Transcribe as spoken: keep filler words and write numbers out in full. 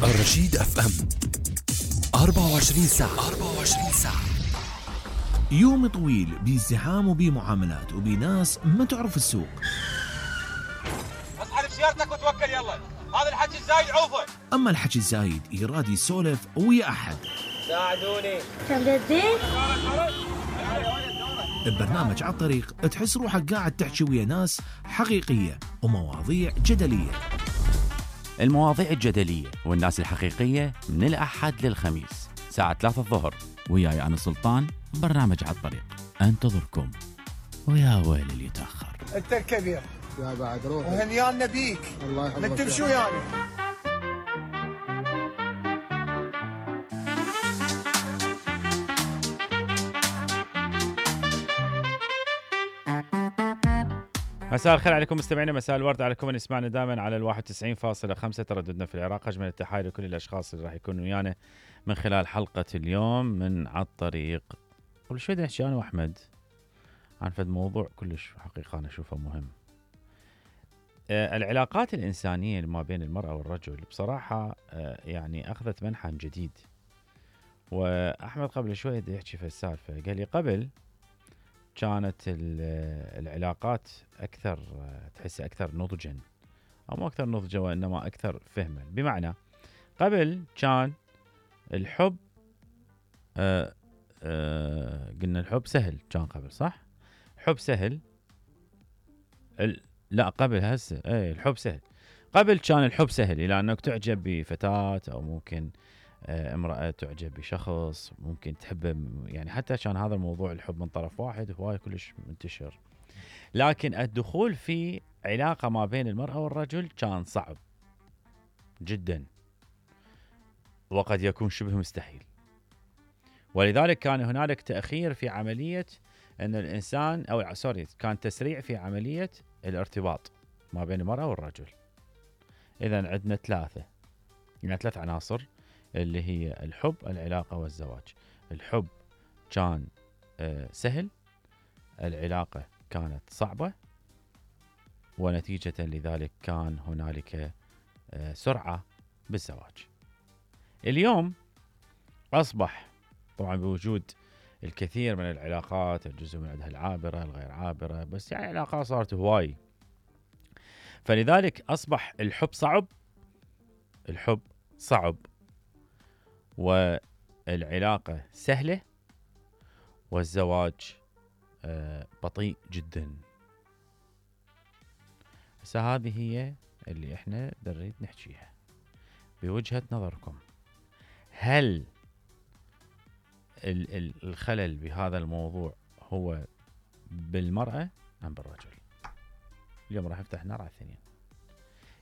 الرشيد اف ام أربعة وعشرين ساعة أربعة وعشرين ساعة. يوم طويل بازدحام وبمعاملات وبناس ما تعرف السوق. اسحب سيارتك وتوكل يلا، هذا الحكي الزايد عوفه. اما الحكي الزايد يراد يسولف ويا احد. ساعدوني. كم جدين؟ ببرنامج على الطريق تحس روحك قاعد تحكي ويا ناس حقيقية ومواضيع جدلية. المواضيع الجدلية والناس الحقيقية من الأحد للخميس ساعة ثلاثة الظهر، وياي أنا سلطان. برنامج على الطريق أنتظركم، ويا ويل اللي يتأخر. أنت الكبير يا بعد روحي وهنيانا بيك. الله يحفظك. انت بشو يعني؟ مساء الخير عليكم مستمعينا، مساء الورد على كل من يسمعنا دائما على الواحد وتسعين فاصلة خمسة ترددنا في العراق. أجمل التحايا لكل الأشخاص اللي راح يكونوا ويانا من خلال حلقة اليوم من على الطريق. قبل شوي نحكي أنا وأحمد عن فد موضوع كلش حقيقة أنا أشوفه مهم. آه العلاقات الإنسانية ما بين المرأة والرجل بصراحة آه يعني أخذت منحى جديد. وأحمد قبل شوي يحكي في السالفة، قال لي قبل كانت العلاقات أكثر، تحس أكثر نضجا، أو مو أكثر نضجا وإنما أكثر فهما. بمعنى قبل كان الحب آآ آآ قلنا الحب سهل، كان قبل صح؟ حب سهل. لا قبل هسه اي الحب سهل. قبل كان الحب سهل إلى أنك تعجب بفتاة أو ممكن امرأة تعجب بشخص ممكن تحبه، يعني حتى كان هذا الموضوع الحب من طرف واحد هواي كلش منتشر. لكن الدخول في علاقة ما بين المرأة والرجل كان صعب جدا، وقد يكون شبه مستحيل. ولذلك كان هنالك تأخير في عملية أن الإنسان أو سوري كان تسريع في عملية الارتباط ما بين المرأة والرجل. إذن عندنا ثلاثة يعني ثلاث عناصر اللي هي الحب، العلاقة، والزواج. الحب كان آه سهل، العلاقة كانت صعبة، ونتيجة لذلك كان هنالك آه سرعة بالزواج. اليوم أصبح طبعا بوجود الكثير من العلاقات، الجزء من عندها العابرة الغير عابرة، بس يعني علاقات صارت هواي، فلذلك أصبح الحب صعب الحب صعب والعلاقة سهلة، والزواج آه بطيء جدا. هسه هذه هي اللي احنا نريد نحكيها بوجهة نظركم. هل ال- ال- الخلل بهذا الموضوع هو بالمرأة أم بالرجل؟ اليوم راح نفتح نار على الثنين.